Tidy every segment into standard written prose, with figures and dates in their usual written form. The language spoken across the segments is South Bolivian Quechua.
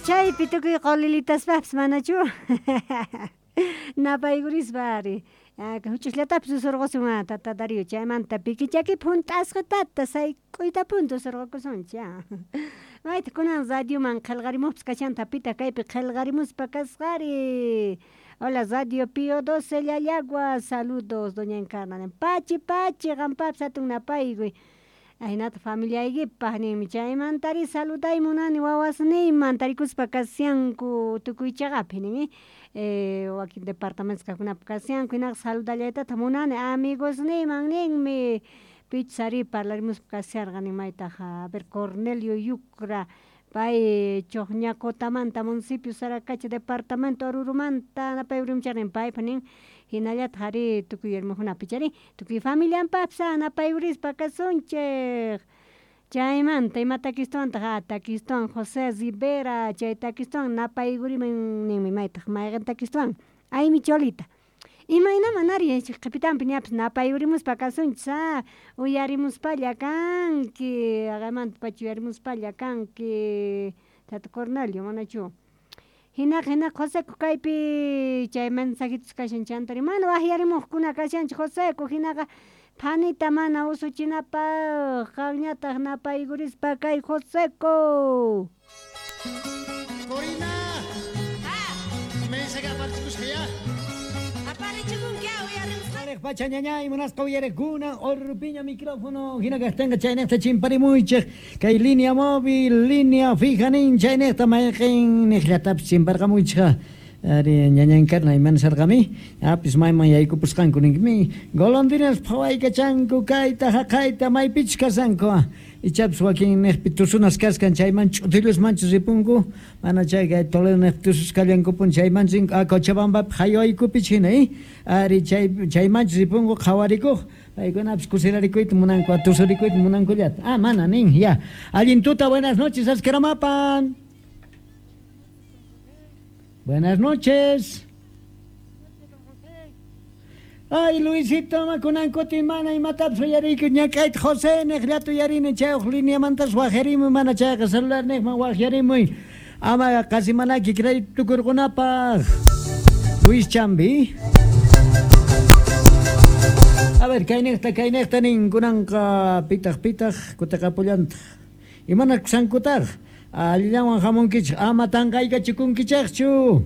Chaypi tukuy qolilitaspapis manachu? Napaykurispa ari. Huch'uyllatapis usurqusun tata Darío chaymanta pikichaki hunt'asqatata sayk'uytapuni tusurqukusunchik. Mayta kunan radioman qillqarimuqpis kashanta pitaq kaypi qillqarimuspa kasqari. Hola Radio Pío 12 Llallagua, saludos doña Encarna. Pachi pachi qampapis hatun napaykuy. Ahinata familiaykipaq ninmi chaymantari saluday munani wawasniyman tarikuspa kashanku tukuy chaqapi nin wakin departamentos kaqkunapi kashanku hinaqa saludallaytataq munani amigosniyman ninmi pichus ari parlarimuspa kasharqa nin maytaq a ver Cornelio Yucra pay Chojñacotamanta municipio Saracacha departamento Orurumanta napayurimucharnin paypa nin hinallataq ari tukuy hermanukunapi chari tukuy familianpapis napayurispa kasunchik chaymanta ima takistuwantaq takistuwan José Rivera chay takistuwan napaykuriman ninmi maytaq mayqin takistuwan aymi cholita imaynaman ari qhipitanpi ñapis napayurimuspa kasunchis uyarimuspalla kanki haqaymanta pacha uyarimuspalla kanki tata Cornelio manachu hinaqa hinaqa Joseco kaypi chay mensajitos kashan chantari mana waqyarimuqkuna kashanchik Joseco hinaqa phanita mana usuchinapaq qanñataq napaykurispa kay Joseco. Corina. Mensaje aparchikusqa ya. Aparichikunki uyarimusqa. Pacha ñañay munasqa uyarekuna orpiña micrófono hina kaqtinqa chaynejta chimparimuychik kay línea móvil línea fija nin chaynejta mayqin niqllatapis chimparqamuychikqa ari ñaña Encarna imana sarqami apis mayman yaykupusqanku ninkimi golondrinas phawaykachanku kayta haqayta maypichus kashanku ichapis wakin niqpi tusunas kaskan chayman ch'utillusmanchus ripunku mana chay kay Toledo niqpi tusus kallankupun chaymanchus rinku Cochabambapi haywaykupichus hina ari chaymanchus ripunku qhawarikuq paykunapis kusirarikuyta munanku tusurikuyta munankullata mana nin ya allin tuta buenas noches askaramapan. Buenas noches. Ay, Luisito, makunankuti mana imatapis uyariyku ñak'ayta José niqllata uyarini chay uq lineamantas waqyarimuy mana chayqa celular niqman waqyarimuy ama qasi manaki crédito tukurqunapaq. Luis Chambi. A ver, kayniqta nin kunanqa pitaq pitaq kutiqapullantaq. Imanakusankutaq? Allillawan hamunkichik ama tanqaykachikunkichikchu.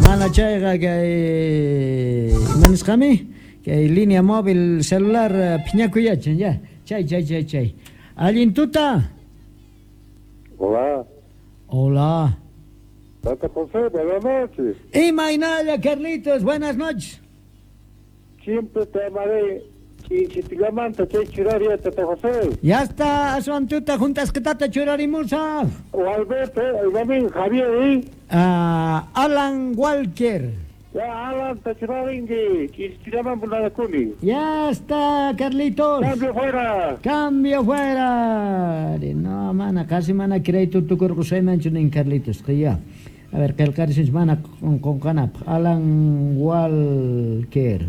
Mana chayqa kay ima nisqami kay línea móvil celular phiñakuyachin ya. Chay chay chay chay. Allin tuta. Hola. Hola. Tata José, buenas noches. Imaynalla, Carlitos, buenas noches. Siempre te amaré. Chitilamanta chay churaria Tata José. Ya está, aswantuta juntasqatata churarimusaq. O Alberto, el Javier, ¿eh? Alan Walker. Ya, Alan, te churarinki, chitilaman punanakuni. Ya está, Carlitos. Cambio fuera. Cambio fuera. No, mana, casi mana crédito tukurqusaymanchu nin Carlitos, que ya. A ver, qillqarisunchik mana qunqanapaq. Alan Walker.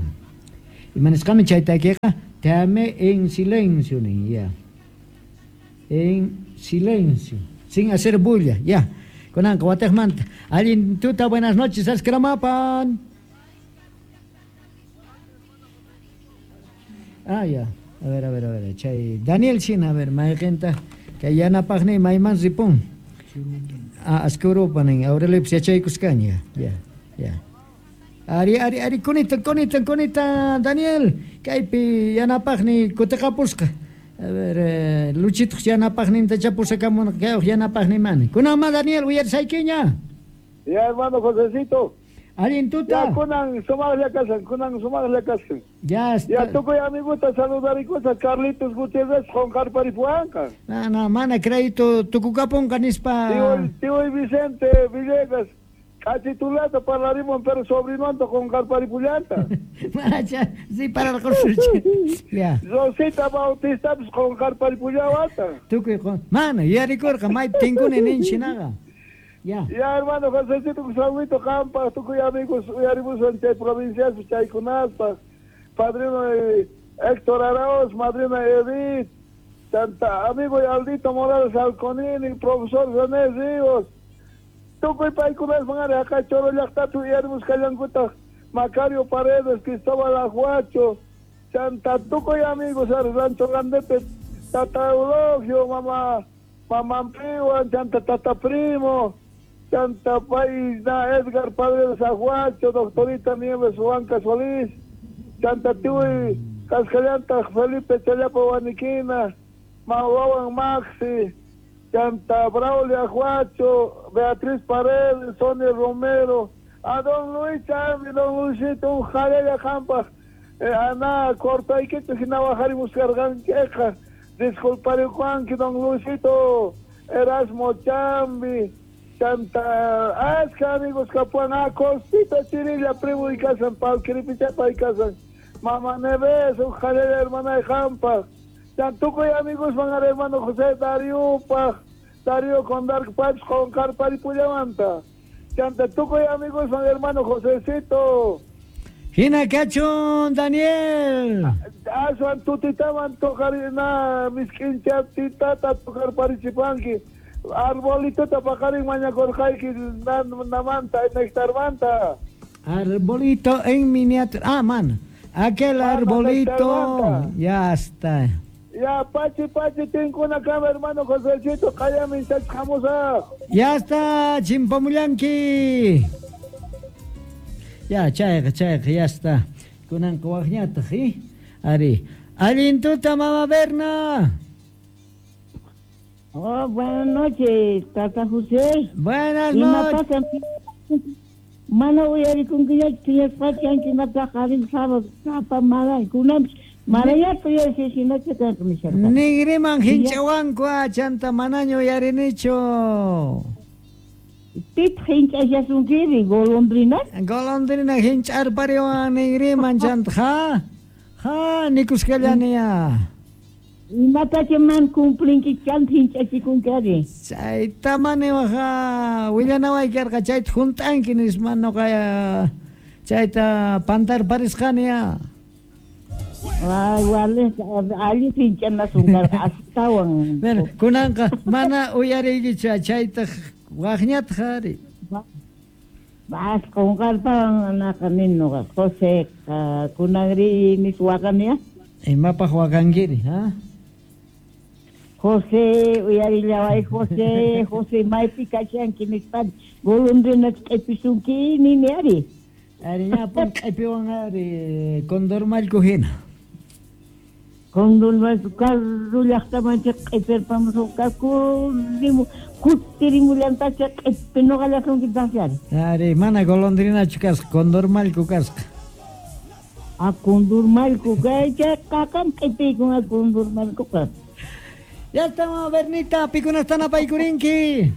Imanisqami chay takiqa te amé en silencio nin ya. En silencio, sin hacer bulla, ya. Kunanqa wataqmanta. Allin tuta, buenas noches, askramapan. Ah, ya. A ver, a ver, a ver. Chay Daniel China, a ver, mayqinta kay yanapaqni mayman ripun. Askurupa nin, Aurelio yachaykusqaña. Ya, ya. Ari, ari, ari, kunita, kunita, kunita, Daniel. Kaypi yanapaqni kutiqapusqa. A ver, Luchito yanapaqninta chapusakamun kay yanapaqni mani. Kunanma Daniel uyarisaykiña. Ya, hermano Josecito. Allin tuta. Ya, kunan sumaqlla kasan, kunan sumaqlla kasan. Ya está. Ya, tukuy amiguta saludarikusa Carlitos Gutiérrez qunqarparipuwanqa. No, no, mana crédito tukukapunqa nispa. Tío Vicente Villegas. Kachitulata parlarimos, pero sobrinonta qunqarparipullanta. Mana sí para el curso. Ya. Rosita Bautista pues qunqarparipullawata. Tukuy mana yarikurqa maypi tinkuni ninchinaqa. Ya. Ya, hermano Josecito, saludito qampa, tukuy amigos uyarimusan chay provincias chaykunaspa. Padrino Héctor Arauz, madrina Edith, Chanta amigo Aldito Morales Alconini, profesor René Ríos, tukuy paykunasman ari haqay Choro llaqtapi uyarimusqallankutaq Macario Paredes, Cristóbal Ajuacho, chanta tukuy amigos ari Rancho Grandepe, Tata Eulogio, mama Mamampiwan, chanta Tata Primo, chanta pay na Edgar Paredes Ajuacho, doctorita Nieves Huanca Solís, chanta tiuy Cascallanta Felipe Challapa Huaniquina, Mawawan Maxi, chanta Braulio Ajuacho, Beatriz Paredes, Sonia Romero, a don Luis Chambi, don Luisito, un jalella jampa, ana cortaykichu hina wajarimuskarqanchikqa, disculpariwanki don Luisito, Erasmo Chambi, chanta achka amigos kapuan, a Costita Chirilla, primo y casan, Palquiripichapa y casan, Mama Neves, un jalella hermana de jampa, tukuy amigos van a hermano José Darío pa Darío con Dark Pipes con Carparipullamanta. Chanta tukuy amigos van hermano Josecito. Hina kachun Daniel. Aswan tutitaman tocar na miskincha titata tocar parichipanki. Arbolito tapakarin mañakorqayki namanta nectarmanta. Arbolito en miniatura. Ah, man. Aquel arbolito. Ya está. Ya, pachi, pachi, tinkuna kama, hermano Josecito, kayami, jamusa. Ya está, chimpamullanki. Ya, chayqa, chayqa, ya está. Kunanqa waqñataq, ¿eh? Ari. Allintuta, mama Berna. Oh, buenas noches, tata José. Buenas noches. Mana uyarikunkiñachu phiñasqachu imataqa sábado tapa maray kunanpis marayata uyarishani hinacha kanqa nisharqani. Nigriman hinchawanku chanta manaña uyarinichu. Pitaq hinch'ashasunkiri golondrina? Golondrina hinch'arpariwan nigriman chanta ha ha nikusqallani ya. Imatacha mana cumplinki chanta hinch'achikunki ari. Chayta mana waja willanaway karqa chayta hunt'anki nispa nuqa chayta pantarparisqani ya. Ay, wale, allin hinch'anasun karqa astawan. Bueno, kunanqa mana uyariykichu chaytaq waqñataq ari. Vas qunqarpawan anaqa nin nuqa José kunanri nis waqani ya. Imapaq waqankiri, ha? José, uyarillaway José, José maypi kashanki nispa golondrina q'ipisunki nini ari. Ari ñapun q'ipiwan ari condormallku hina. Condormallku karu llaqtamanchik q'ipirpamusunqaku kutirimullantacha q'ipi nuqallasunkitaqsi ari. Ari mana golondrinachu kasqa condormallku kasqa. A condormallku kay chayqa q'ipiykun a condormallkuqa. Ya estamos, Bernita, pikunasta napaykurinki.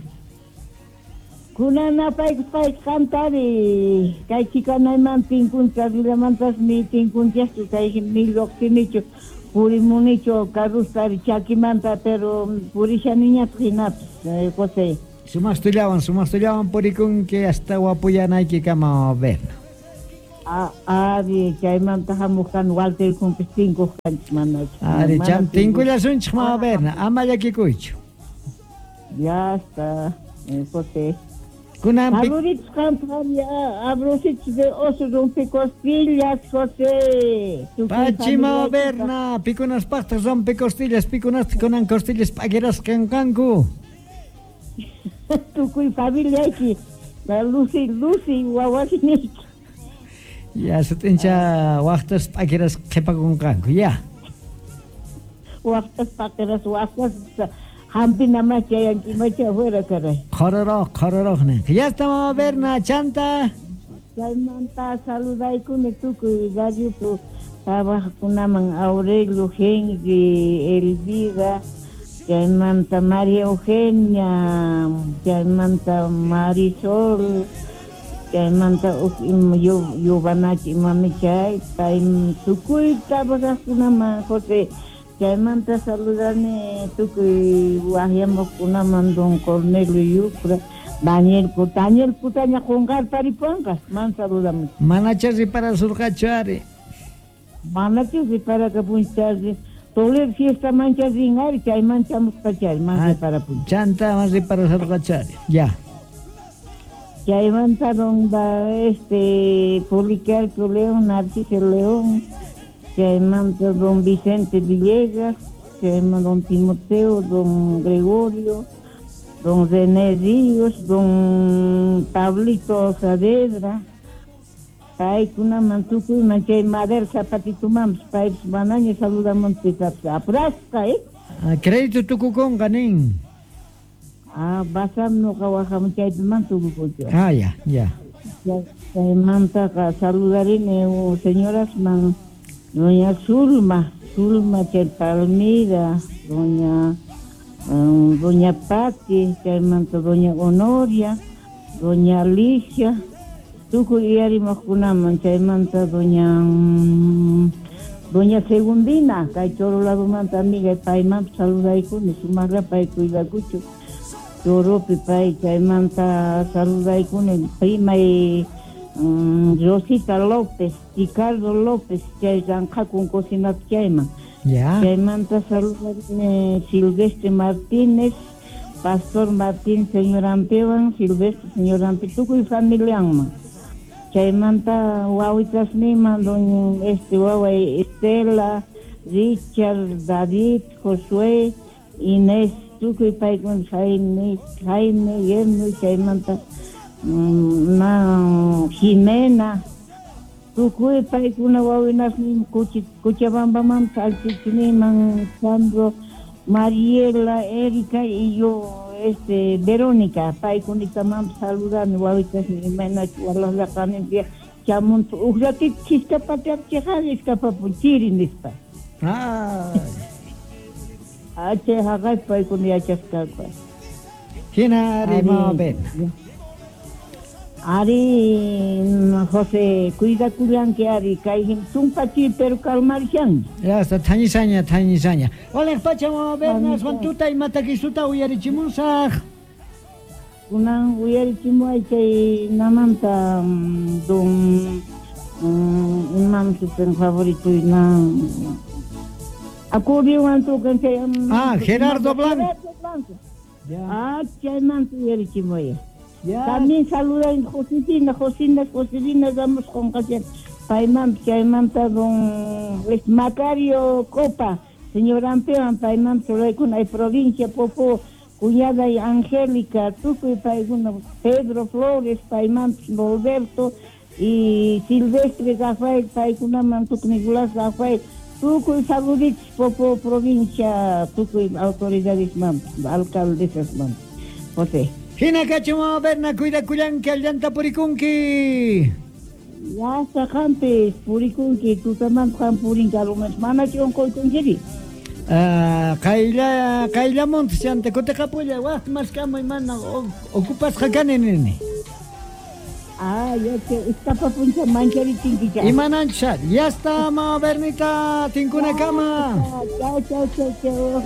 Kunan napaykusqayki qantari kay chikanayman tinkunchas rillamantas ni tinkunchaschu kay ni lluqsinichu purimunichu karrustari chakimanta pero purishaniñataq hinapis José. Sumaqtullawan purikunki hasta wapuyanaykikama, Berna. Ari chaymanta hamuq kan Walter kumpis tinkuq kanchik manachu. Ari cham tinkullasunchik mama Berna, ama llakikuychu. Ya está, José. Kunan Saluditos qampa abrositos de oso rompecostillas, José. Pachi mama Berna, pikunaspaqtaq rompecostillas, pikunastaq kunan costillas p'akirasqan kanku. Tukuy familiayki, Lucy, Lucy wawasiniyki. Ya, sutincha waqtas p'akiras qhipakunqanku, ya. Waqtas p'akiras, waqtas hampinaman chayankimacha afuera, caray. Qhororoq, qhororoq ninqa. Ya está, mama Berna, chanta. Chaymanta saludaykuni tukuy radiopi trabajaqkunaman Aurelio, Henry, Elvira, chaymanta María Eugenia, chaymanta Marisol, chaymanta yuvanachi imami chay pay tukuy trabajaqkunaman José. Chaymanta saludani tukuy waqyamuqkunaman don Cornelio Yucra, Daniel Daniel Putaña qunqarparipuwanqa man saludamuch. Manacha riparasurqachu ari. Manachu riparakapunchu Toledo fiesta mancha rin ari, chayman chamusqachari, mas reparapun. Chanta mas reparasarqachari. Ya. Chaymanta don Policarpo León, Narciso León, chaymanta don Vicente Villegas, chaymanta don Timoteo, don Gregorio, don René Ríos, don Pablito Saavedra, paykunaman tukuyman chay madera zapatitumanpis paypis manaña saludamunpis apurasqa, eh? Ah, crédito tukukunqa nin. Ah, basam noqa wajamun chaypiman tukukunchu. Ah, ya, ya. Chaymantaqa saludarini señorasman doña Zulma, Zulma chay Palmira, doña doña Pati, chaymanta doña Honoria, doña Alicia, tukuy uyarimuqkunaman, chaymanta doña doña Segundina, kay Choro ladumanta amiga, paymanpas saludaykuni, sumaqlla pay cuidakuchu. Choropi pay, chaymanta saludaykuni, primay Rosita López, Ricardo López, chay ranqhakun cocinapi chayman. Ya. Chaymanta saludarini Silvestre Martínez, Pastor Martín, señor Ampewan, Silvestre, señor Ampe, tukuy familianman. Chaymanta wawitasniman, doña waway Estela, Richard, David, Josué, Inés, tukuy paykuna, Jaime, Jaime, Yerno, chaymanta Jimena, tukuy paykuna wawinasnin Cochabambamanta, Alchichiniman, Sandro, Mariela, Erika y yo, Verónica, paykunitamanpas saludani wawitasnin imaynachu walaqlaqaninpi chamuntu uj ratito chiskapatapi chayqa iskapapun chiri nispa. Ay. Ah, chay haqaypi paykuna yachasqanku. Hina ari, mama Berna. Ari, José, cuidakullanki ari, kay tumpa chiri pero calmarishan. Ya está, thañisaña, thañisaña. Hola, pacha, mama Berna, aswan tuta imatakisuta uyarichimusaq. Kunan uyarichimuay chay namanta don imam sutin favorito na acordeón tocan chay. Ah, Gerardo Blanco. Gerardo Blanco. Ah, chaymanta uyarichimuay. Ya. También saludan Josefina, Josina, Josefina, damos con casi payman, chaymanta don Macario Copa, señor Ampean, payman, con hay provincia, Popó, cuñada y Angélica, tukuy paykuna, Pedro Flores, payman, Roberto y Silvestre Rafael, paykunaman, tukuy Nicolás Rafael, tukuy saluditos, Popó, provincia, tukuy autoridades, man, alcaldesas, man, José. Hina kachu, mama Berna, cuidakullanki, allanta purikunki. Ya está qampis, purikunki, tutamanta qam purinki, alumas manachu unquykunkiri? Ah, qayllamunta chanta kutiqapulla, waj maskamuy mana ocupasqa kani nini. Ah, ya che, iskapapuncha mancharichinkicha. Imananchu, ya está, mama Bernita, tinkunakama. Chao, chao, chao, chao,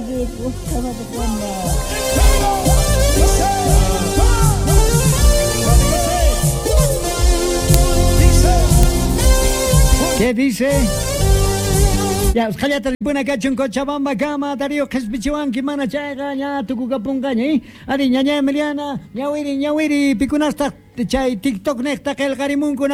¿Qué dice? Ya, usqhallata ripuna kachun Cochabamba kama, Darío qhispichiwanki mana chayqa ña tukukapunqaña, ¿eh? Ari ñaña Emiliana, ñawiri, ñawiri, pikunastaq chay TikTok niqta qillqarimunkuna.